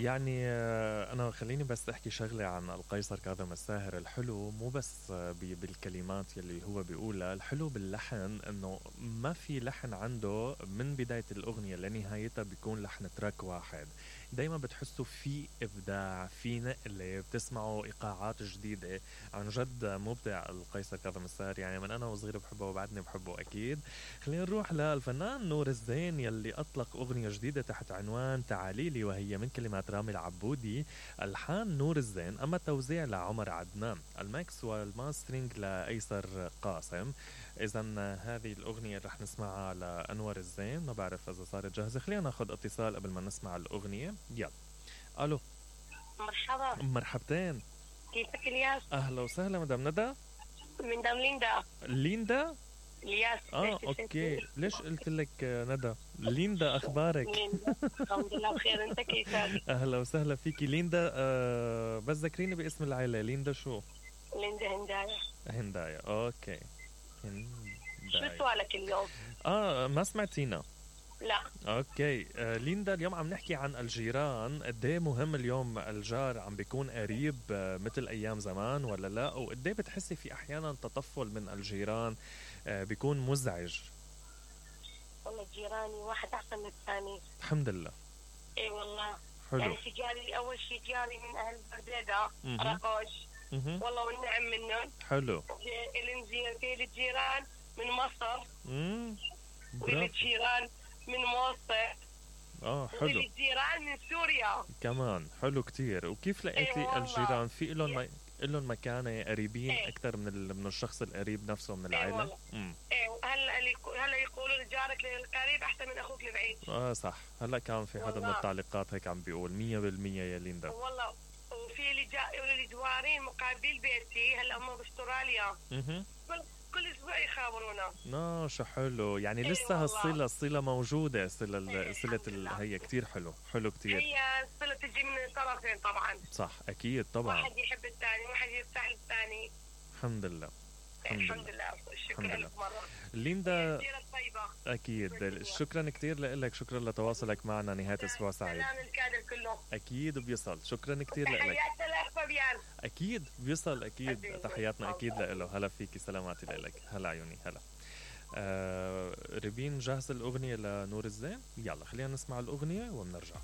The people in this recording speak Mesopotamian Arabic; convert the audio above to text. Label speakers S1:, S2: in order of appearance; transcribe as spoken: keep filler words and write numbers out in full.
S1: يعني آه، أنا خليني بس أحكي شغلة عن القيصر كاظم الساهر. الحلو مو بس آه، بي- بالكلمات يلي هو بيقولها، الحلو باللحن إنه ما في لحن عنده من بداية الأغنية لنهايتها بيكون لحن تراك واحد. دايما بتحسوا في إبداع، في نقلة، بتسمعوا إيقاعات جديدة. عن جد مبدع القيصر كاظم الساهر، يعني من أنا وصغير بحبه وبعدني بحبه أكيد. خلينا نروح للفنان نور الزين يلي أطلق أغنية جديدة تحت عنوان تعاليلي، وهي من كلمات رامي العبودي، ألحان نور الزين، أما التوزيع لعمر عدنان، الميكس والماسترينج لأيسر قاسم. إذا هذه الأغنية رح نسمعها لأنور الزين، ما بعرف إذا صارت جاهزة. خلينا ناخد اتصال قبل ما نسمع الأغنية. يلا. ألو.
S2: مرحبا.
S1: مرحبتين.
S2: كيفك الياس؟
S1: أهلا وسهلا مدام ندى.
S2: من دام ليندا.
S1: ليندا.
S2: الياس.
S1: اه اوكي، ليش قلت لك ندى؟ ليندا اخبارك؟
S2: ليندا الحمد لله بخير، انت كيفك؟
S1: اهلا وسهلا فيكي ليندا. آه بس ذكريني باسم العائله. ليندا شو؟
S2: ليندا هندايا.
S1: هندايا. اوكي.
S2: شو
S1: هندايا.
S2: سؤالك اليوم؟
S1: اه ما سمعتينا.
S2: لا.
S1: اوكي. آه ليندا، اليوم عم نحكي عن الجيران. قد ايه مهم اليوم الجار عم بيكون قريب آه مثل ايام زمان ولا لا؟ وقد ايه بتحسي في احيانا تطفل من الجيران آه بيكون مزعج؟
S2: والله جيراني واحد احسن من الثاني.
S1: الحمد لله.
S2: اي والله.
S1: حلو.
S2: يعني في جاري اول شيء جاري من اهل برديده
S1: مهم.
S2: رقوش.
S1: مهم.
S2: والله والنعم منهم.
S1: حلو.
S2: الانزين في الجيران من مصر.
S1: امم
S2: والجيران من موصل.
S1: اه حلو.
S2: والجيران من سوريا
S1: كمان حلو كتير. وكيف لقيتي
S2: أيوة
S1: الجيران؟ في لهم ما... لهم مكانة قريبين
S2: ايه.
S1: اكثر من ال... من الشخص القريب نفسه من
S2: ايه
S1: العائلة؟
S2: والله.
S1: امم
S2: ايه هلا اللي يقو- هلا يقولوا لجارك القريب احسن من اخوك البعيد.
S1: اه صح. هلا كان في حدا من
S2: والله.
S1: التعليقات هيك عم بيقول مية بالمية يا ليندا.
S2: والله. وفي اللي جا اللي جوارين مقابل بيتي هلا هم باستراليا.
S1: اها.
S2: كل كل اسبوع يخابرونا.
S1: اه شو حلو. يعني
S2: ايه
S1: لسه
S2: والله.
S1: هالصلة الصلة موجودة. صلة ال-
S2: ايه
S1: صلة
S2: الحمد
S1: ال...
S2: لله.
S1: هي كتير حلو. حلو كتير.
S2: هي الصلة تجي من الطرفين طبعا.
S1: صح اكيد طبعا.
S2: واحد يحب الثاني، واحد يرتاح للثاني.
S1: الحمد لله. الحمد
S2: الحمد
S1: لله.
S2: لله.
S1: الحمد
S2: شكرا
S1: لله.
S2: لك مرة.
S1: ليندا
S2: السيرة الطيبة.
S1: اكيد شكرا كتير لك. شكرا لتواصلك معنا. نهاية اسبوع سعيد.
S2: سلام الكادر كله.
S1: اكيد بيصل. شكرا كتير لك.
S2: تحياتنا لاخ فابيان.
S1: اكيد بيصل. اكيد
S2: حبيبي.
S1: تحياتنا اكيد
S2: الله.
S1: له. هلا فيكي. سلاماتي لك. هلا عيوني. هلا. آه ريبين جاهزة الأغنية لنور الزين؟ يلا خلينا نسمع الأغنية وبنرجع.